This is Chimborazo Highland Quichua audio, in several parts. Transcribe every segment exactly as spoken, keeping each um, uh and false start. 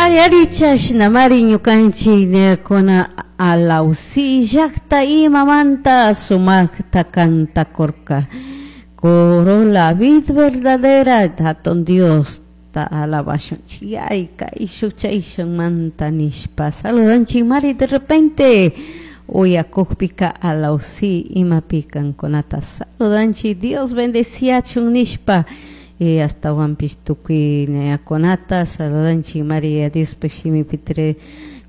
Ari ari chashnamari ñukanchik kuna Alausí llaqta imamanta sumaqta kantakurka coro La Vid Verdadera hatun Diosta alabashunchik ay kayshuk chayshukmanta nishpa saludanchik mari. De repente uyakukpika Alausí imapi kankunata saludanchik, Dios bendeciachun nishpa y ashtawanpish tukuy ñayakunata saludanchik mari. Diospuk shimipi tres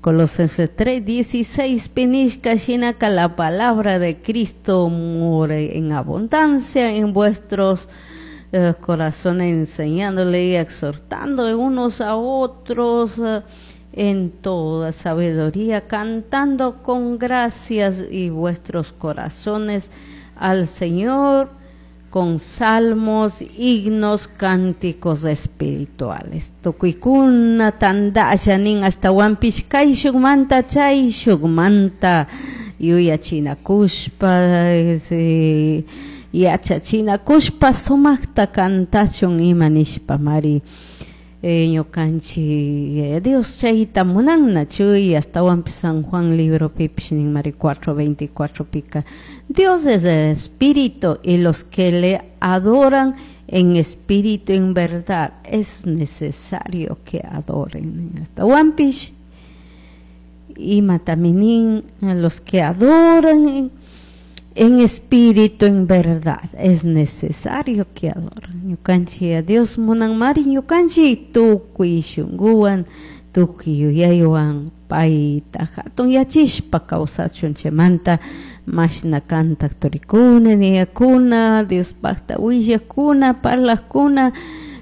Colosenses tres dieciséis nishka shinaka la palabra de Cristo more en abundancia en vuestros eh, corazones, enseñándole y exhortando unos a otros eh, en toda sabiduría, cantando con gracias y vuestros corazones al Señor con salmos, himnos, cánticos espirituales. Tukuykuna tandasha nin ashtawanpish kayshukmanta chayshukmanta yuyachinakushpa yachachinakushpa sumakta kantachun ima nishpa mari eh, ñukanchik Dios chayta munannachu. Y ashtawanpish San Juan libro pipish nin mari cuatro veinticuatro pika: Dios es espíritu y los que le adoran en espíritu en verdad es necesario que adoren. Ashtawanpish imatami nin los que adoran en, en espíritu en verdad es necesario que adoren. Ñukanchik a Dios munanmari ñukanchik tukuy shunkuwan tukuy yuyaywan payta hatun yachishpa kawsachun. Chaymanta mashna kantak turikuna niyakuna Diospakta willakuna parlakuna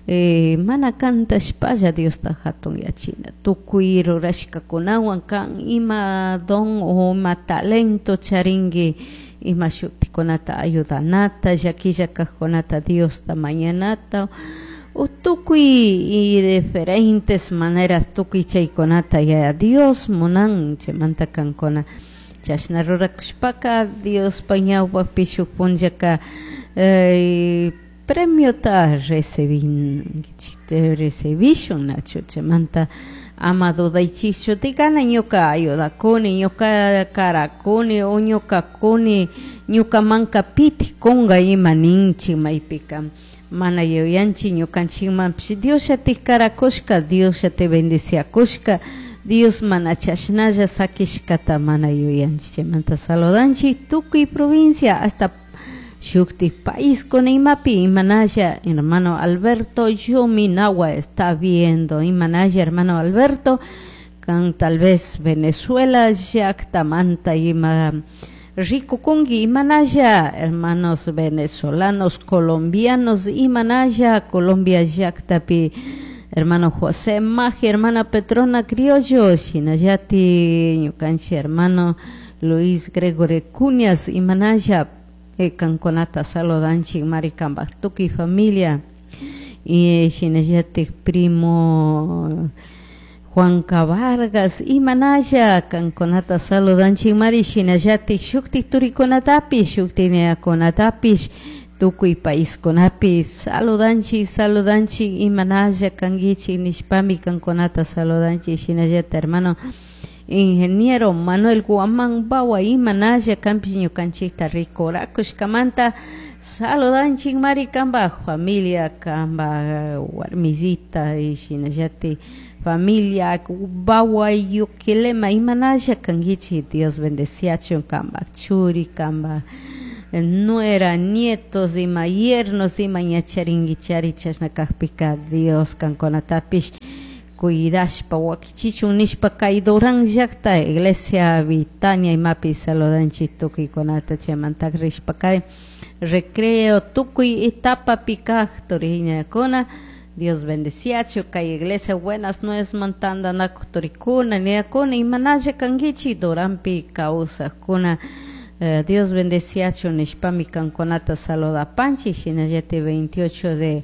eh, mana kantashpalla Diosta hatun yachina tukuy rurashkakunawan kan ima don o ima talento charinki ima shutikunata ayudanata llakilla kajkunata Diosta mañanata o tukuy y diferentes maneras tukuy chaykunata Yaya Dios munan. Chaymanta kankuna chashna rurakushpaka Diospa ñawpakpi shuk punllaka eh, premiota recibinkichik recibishun nachu. Chaymanta ama dudaychikchu tikana ñuka ayudakuni ñuka karakuni o ñuka kuni ñukamanka pitik kunga ima ninchik maypika mana yuyanchik ñukanchikmanpish Diosllatik karakushka Diosllatik bendiciakushka Dios mana chashnalla sakishkata mana yuyanchik. Chaymanta saludanchik tukuy provincia hasta shuktik paiskuna imapi imanalla hermano Alberto Yominawa está viendo imanalla hermano Alberto kan tal vez Venezuela llaktamanta ima rikukunki imanalla hermanos venezolanos, colombianos imanalla Colombia llaktapi hermano José Maji, hermana Petrona Criollo shinallati ñukanchik hermano Luis Gregory Cuñas imanalla eh, kankunata saludanchik mari kanpak tukuy familia y shinallatik primo Juanca Vargas imanalla kankunata saludanchik mari shinallatik shuktik turikunatapish shuktik ñañakunatapish tukuy paiskunapi saludanchik saludanchik imanalla kankichik nishpami kankunata saludanchik. Shinallata hermano ingeniero Manuel Guamán Bawa imanalla kanpish ñukanchikta rikurakushkamanta saludanchik mari kanpak familia kanpak warmisita y shinallatik familia Bawa Yuquilema imanalla kankichik. Dios bendeciachun kanpak churi kanpak nuera nietos ima yernos ima ñacharinkichari chashna kakpika Dios kankunatapish cuidashpa wakichichun nishpa kay Durán llakta iglesia Vitania imapi saludanchik tukuykunata. Chaymanta rishpa kay Recreo tukuy etapapi kak turiñakuna Dios bendeciachu kay iglesia Buenas Nuevas tantanakuy turikuna ñakuna imanalla kankichik Duranpi kawsakuna eh, Dios bendeciachu nishpami kankunata saludapanchik. Shinallatik veintiocho de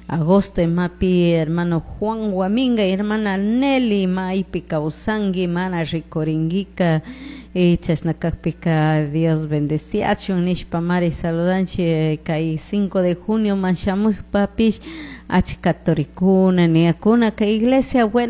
agosto imapi hermano Juan Guaminga hermana Nelly maypi kawsanki mana rikurinkica y chashna kakpika Dios bendeciachun nishpa mari saludanchik. Kay cinco de junio man shamushpapish achka turikuna niyakuna kay iglesia Buenas